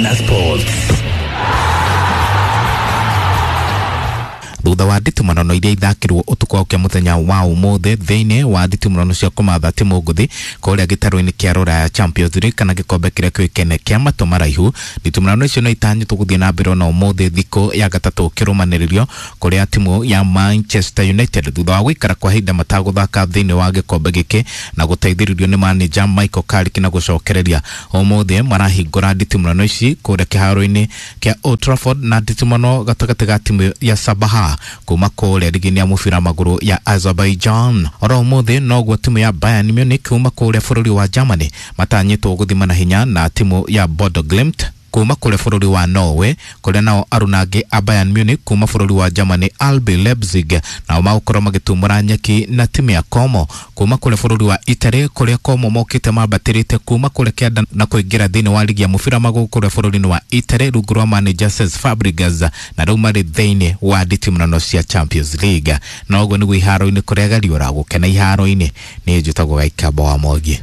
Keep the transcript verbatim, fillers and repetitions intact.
Mwana Sports. Thutha wa nditimũrano iria ithakirwo ũtukũ wa mũthenya wa ũmũthĩ thĩinĩ wa nditimũrano cia kũmatha timu ngũthi kũrĩa gĩtarũ-inĩ kĩa Rũraya Champions League kana gĩkombe kĩrĩa kĩũĩkaine kĩa matũ maraihu, nditimũrano icio no itanyĩtwo gũthiĩ na mbere ona ũmũthĩ thikũ ya gatatũ kĩrũmanĩrĩrio kũrĩa timu ya Manchester United thutha wa gũikara kwa ihinda matagũthaka thĩinĩ wa gĩkombe gĩkĩ na gũteithĩrĩrio nĩ manager Michael Carrick na gũcokereria ũmũthĩ marahingũra nditimũrano ici kũrĩa kĩharo-inĩ kĩa Old Trafford na nditimũrano gatagatĩ ga timu ya Sabaha kuma kũrĩa ligi ya mũbira magũrũ ya Azerbaijan. Oro ũmũthĩ noguo timu ya Bayern Munich kuma kũrĩa bũrũri wa Germany matanyĩtwo gũthima na hinya na timu ya Bodo Glimt kuma kũrĩa bũrũri wa Norway, kũrĩa nao arunangi a Bayern Munich kuma bũrũri wa Germany R B Leipzig nao magũkorwo magĩtumũra nyeki na timu ya Como kuma kũrĩa bũrũri wa Italy, kũrĩa Como mokĩte mambatĩrĩte kuma kũrĩa kĩanda na kũingĩra thĩinĩ wa ligi ya mũbira magũrũ kũrĩa bũrũri-inĩ wa Italy rungu rwa manager Cesc Fabregas na rĩu marĩ thĩinĩ wa nditimũrano cia Champions League. Na ũguo nĩguo iharo-inĩ kũrĩa gariũra gũkena iharo-inĩ. Niĩ njĩtagwo Gaikamba wa Mwangi.